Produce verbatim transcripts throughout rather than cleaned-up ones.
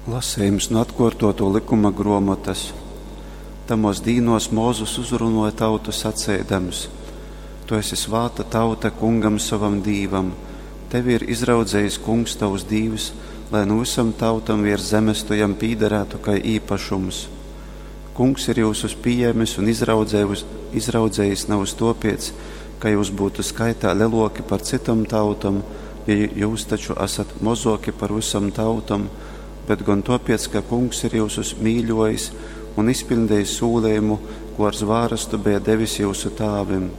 Lasejums nu atkuortuotuo lykuma gruomotas. Tamuos dīnuos Mozus uzrunuoja tautu saceidams: Tu esi svāta tauta Kungam sovam Dīvam. Tevi ir izraudzejis Kungs tovs Dīvs, lai nu vysom tautom viers zemes tu jam pīdarātu kai īpašums. Kungs ir jyusus pījēmis un izraudzejis navys tuopiec, ka jyus byutu skaitā leluoki par cytom tautom, jo jyus taču asat mozuoki par vysom tautom, bet gon tuopiec, ka Kungs ir jyusus mīļuojis un izpiļdejis sūlejumu, kū ar zvārastu beja devis jyusu tāvim.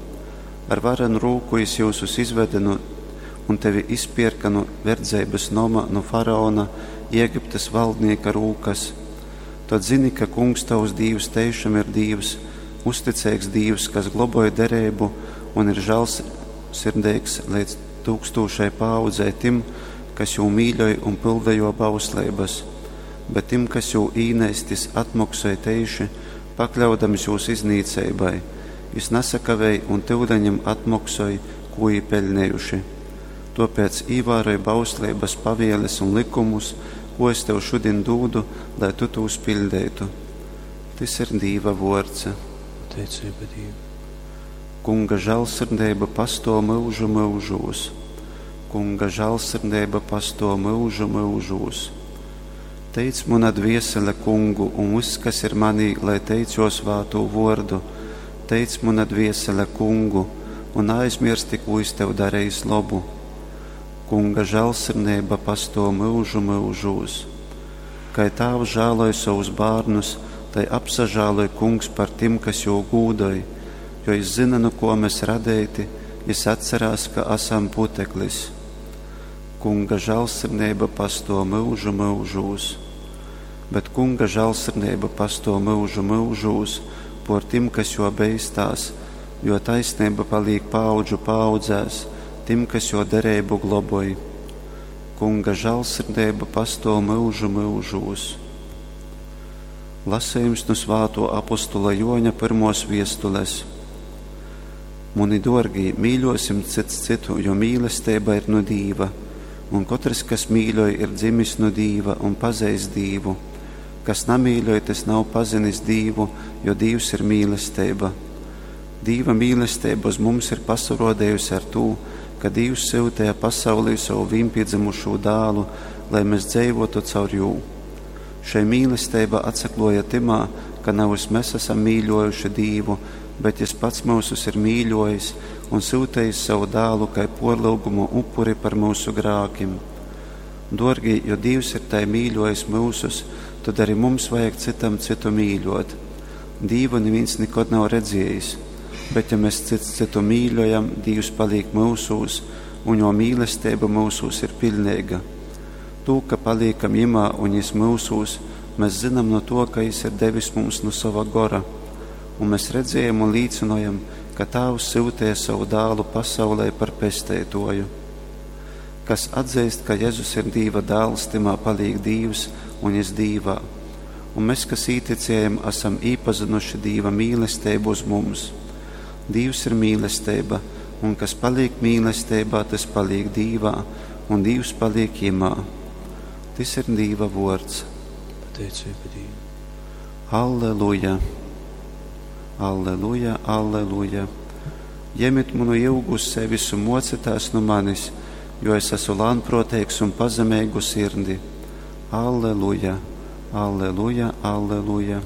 Ar varenu rūku jis jyusus izvede nu, un tevi izpierka nu verdzeibys noma, nu faraona, Ēgiptes valdnieka rūkas. Tod zini, ka Kungs tovs Dīvs teišam ir Dīvs, uzticeigs Dīvs, kas globoj dereibu un ir žālsirdeigs leidz tūkstūšai paaudzei tim, kas jū mīļoj un pylda juo bausleibys, bet tim, kas jū īneist, jis atmoksoj teiši, pakļaudams jūs iznīceibai. Jis nasakavej un tyuleņ jim atmoksoj, kū jī peļnejuši. Tuopēc īvāroj bausleibys, pavielis un lykumus, ko es tev šudin dūdu, lai tu tūs piļdeitu. Tys ir Dīva vuords. Pateiceiba Dīvam. Kunga žālsirdeiba pastuov myužu myužūs. Kunga žālsirdeiba pastuov myužu myužūs. Teic muna dviesele Kungu, un vyss, kas ir manī, lai teic juo svātū vuordu. Teic muna dviesele Kungu, un naaizmiersti, kū jis tev darejis lobu. Kunga žālsirdeiba pastuov myužu myužūs. Kai tāvs žāloj sovus bārnus, tai apsažāloj Kungs par tim, kas jū gūdoj, jo jis zyna, nu kuo mes radeiti, jis atcerās, ka asam puteklis. Kunga žālsirdeiba pastuov myužu myužūs. Bet Kunga žālsirdeiba pastuov myužu myužūs puor tim, kas juo beistās, juo taisneiba palīk paaudžu paaudzēs tim, kas juo dereibu globoj. Kunga žālsirdeiba pastuov myužu myužūs. Lasejums nu svātuo apostula Juoņa pyrmuos viestules. Muni duorgī, mīļuosim cyts cytu, jo mīlesteiba ir nu Dīva. Un kotrs, kas mīļoj, ir dzimis nu Dīva un pazeist Dīvu. Kas namīļoj, tys nav pazinis Dīvu, jo Dīvs ir mīlesteiba. Dīva mīlesteiba uz mums ir pasaruodejusi ar tū, ka Dīvs syuteja pasaulī sovu vīnpīdzymušū dālu, lai mes dzeivuotu caur jū. Šei mīlesteiba atsakluoja tymā, ka navys mes asam mīļuojuši Dīvu, bet Jis pats myusus ir mīļuojis un syutejis savu dālu kai puorlyugumu upuri par myusu grākim. Duorgī, jo Dīvs ir tai mīļuojis myusus, tod ari mums vajag cytam cytu mīļuot. Dīvu nivīns nikod nav redziejis, bet ja mes cyts cytu mīļojam, Dīvs palīk myusūs, un juo mīlesteiba myusūs ir piļneiga. Tū, ka palīkam jimā un jis myusūs, mes zynam nu tuo, ka jis ir devis mums nu sova gora. Un mes redziejam un līcynojam, ka Tāvs syuteja sovu dālu pasaulē par pesteituoju. Kas atzeist, ka Jezus ir Dīva dāls, tymā palīk Dīvs un jis Dīvā. Un mes, kas īticējam, asam īpazynuši Dīva mīlesteibu uz mums. Dīvs ir mīlesteiba, un kas palīk mīlesteibā, tys palīk Dīvā, un Dīvs palīk jimā. Tys ir Dīva vuords. Pateiceiba Dīvam. Alleluja! Alleluja, alleluja! Jemit munu jyugu uz sevis un muocitās nu manis, jo es esmu lānpruoteigs un pazemeigu sirdi. Alleluja, alleluja, alleluja!